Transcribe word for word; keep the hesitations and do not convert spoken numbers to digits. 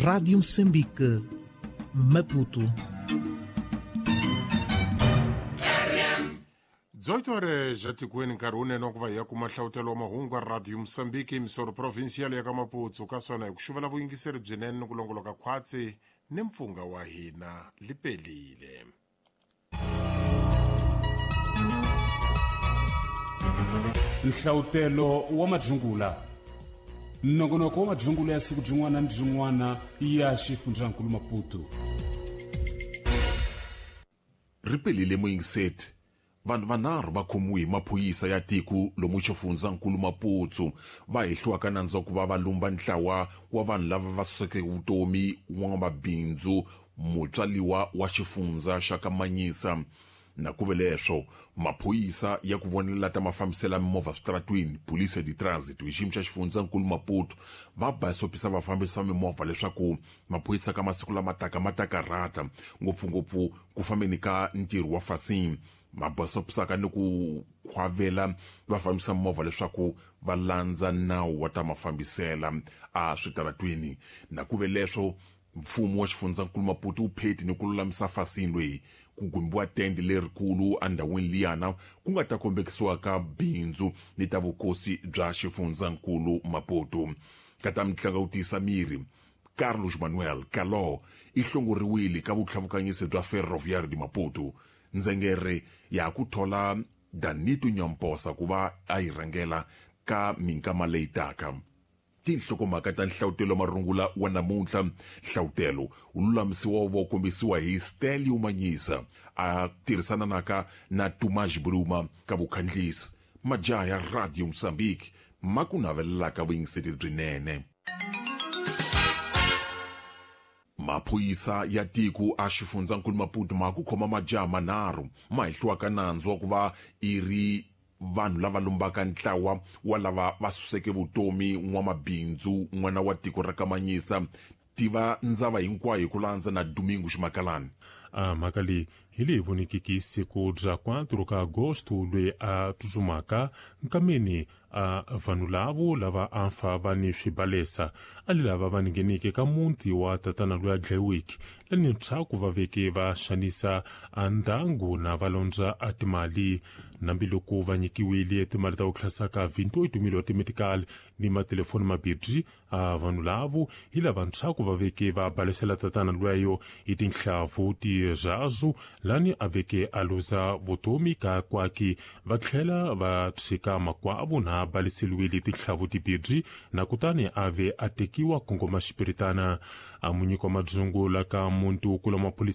Rádio Moçambique, Maputo. dezoito horas já tikweni nkarhi wunene wa ku va hi ya kuma nhlawutelo wa mahungu ya Radio Moçambique misoro provincial ya ka Maputo ka swona hi ku xuvela vuyingiseri byinene ni ku longoloka khwatsi ni mpfunga wa hina lipelile. Nhlawutelo wa madzungula nongonoko wa madzungula ya siku byin'wana ni byin'wana ya xifundzankulu Maputo. Ripelile muyingiseti. Vanhu vanharhu va khomiwe hi maphorisa ya tiko lomu xifundzankulu Maputo va hehliwaka nandzu wa ku va va lumba ntlawa wa vanhu lava va suseke vutomi wa mabindzu mutswaliwa wa xifundza xa ka Manyisa. Na ku ve leswo maphorisa ya ku vonela ta mafambiselo mimovha switaratwini Police de Transit hi xiyimo xa xifundzankulu Maputo va basopisa vafambisi va mimovha leswaku maphorisa ka masiku lama taka ma ta karhata ngopfungopfu ku fambeni ka ntirho wa fasini. Mabasopisaka ni ku khwavela vafambisa mimovha leswaku va landza nawu wa ta mafambisela a switaratwini. Na ku ve leswo mfumo wa xifundzankulu Maputo wu pheti ni ku lulamisa fasini loyi ku gumbiwa tende lerikulu endhawini liyana ku nga ta kombekisiwa ka bindzu ni ta vukosi bya xifundzankulu Maputo. Ka ta mitlangu wu tiyisa miri Carlos Manuel Caló i hlongoriwile ka vutlhavukanyisi bya Ferroviário de Maputo. Ndzengere ya ku thola Danito Nyamposa ku va a yi rhangela ka minkama leyi taka. Tinhlokomhaka ta nhlawutelo marungula wa namuntlha. Nhlawutelo wu lulamisiwa wu va wu kombisiwa hi Stelio Manyisa a tirhisana naka na Tomás Bruma ka vukhandlisi. Majaha ya Radio Moçambique ma ku navelelaka vuyingiseri byinene. Maphorisa ya tiko a xifundzankulu Maputo ma ku khoma majaha manharhu ma hehliwaka nandzu wa ku va i ri vanhu lava lumbaka ntlawa wa lava va suseke vutomi n'wamabindzu n'wana wa tiko ra ka Manyisa. Tiva ndzava hinkwayo hi ku landza na Domingo Ximakalani. A mhaka leyi hi leyi vonekiki siku bya quatro ka agosto loyi a tsutsumaka nkameni a vanhu lavo lava a fa va ni swibalesa a li lava va ngheneke ka muti wa tatana loyi a dlayiweke lani ntshaku va veke va xanisa a ndyangu na va londza a timali nambiloko va nyikiwile timali ta ku hlasaka vinti-oito mil wa timedical ni matelefoni mabibyi a vanhu lavo hi lava ntshaku va veke va balesela tatana lweyo hi tinhlavu tirhazu lani a veke a luza vutomi ka kwaki va tlhela va tshika makwavo na baleseliwile tinhlavu tibibyi na kutani a ve a tekiwa kongoma xipiritana. A munyiko wa madzungula ka muntu kula maphorisa